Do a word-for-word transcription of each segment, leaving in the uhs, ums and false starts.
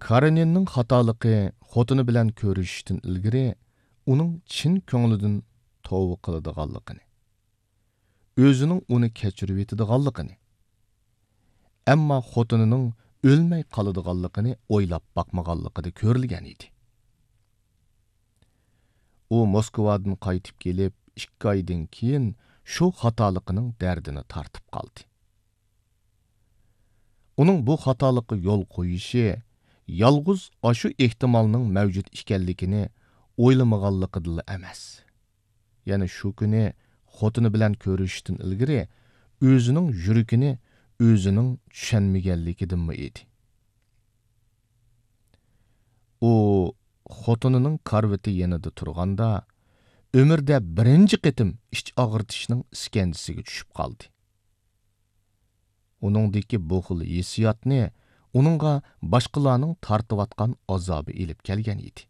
كارېنىننىڭ خاتالىقى خوتۇنى بىلەن كۆرۈشۈشتىن ئىلگىرى ئۇنىڭ چىن كۆڭلىدىن توۋا قىلىدىغانلىقىنى، ئۆزىنىڭ ئۇنى كەچۈرۈۋېتىدىغانلىقىنى، ئەمما خوتۇنىنىڭ ئۆلمەي قالىدىغانلىقىنى ئويلاپ باقمىغانلىقىدا كۆرۈلگەن ئىدى. ئۇ موسكۋادىن قايتىپ كېلىپ، ئىككى ئايدىن كېيىن شۇ خاتالىقىنىڭ دەردىنى تارتىپ قالدى. ئۇنىڭ بۇ خاتالىققا يول قويۇشى يالغۇز ئاشۇ ئېھتىمالنىڭ مەۋجۇت ئىكەنلىكىنى ئويلىمىغانلىقىدىنلا ئەمەس. يەنە شۇ كۈنى خوتۇنى بىلەن كۆرۈشۈشتىن ئىلگىرى ئۆزىنىڭ يۈرىكىنى ئۆزىنىڭ چۈشەنمىگەنلىكىدىنمۇ ئىدى. ئۇ خوتۇنىنىڭ كارىۋىتى يېنىدا تۇرغاندا، ئۆمرىدە بىرىنچى قېتىم ئىچ ئاغرىتىشنىڭ ئىسكەنجىسىگە چۈشۈپ قالدى. ئۇنىڭدىكى بۇ خىل ھېسسىياتنى ئۇنىڭغا باشقىلارنىڭ تارتىۋاتقان ئازابى ئېلىپ كەلگەن ئىدى.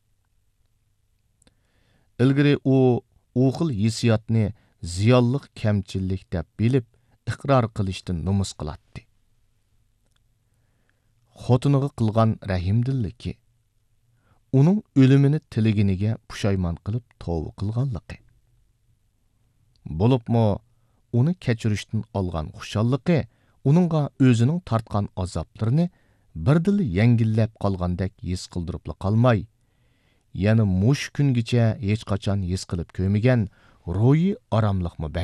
ئىلگىرى ئۇ ئۇ خىل ھېسسىياتنى زىيانلىق كەمچىللىك دەپ بىلىپ، ئىقرار قىلىشتىن نومۇس قىلاتتى. خوتۇنىغا قىلغان رەھىمدىللىكى، ئۇنىڭ ئۆلۈمىنى تىلىگىنىگە پۇشايمان قىلىپ توۋا قىلغانلىقى، بولۇپمۇ ئۇنى كەچۈرۈشتىن ئالغان خۇشاللىقى ئۇنىڭغا ئۆزىنىڭ تارتقان ئازابلىرىنى بىردىنلا يەڭگىللەپ قالغاندەك ھېس قىلدۇرۇپلا قالماي، يەنە مۇشۇ كۈنگىچە ھېچقاچان ھېس قىلىپ كۆرمىگەن روھىي ئاراملىقمۇ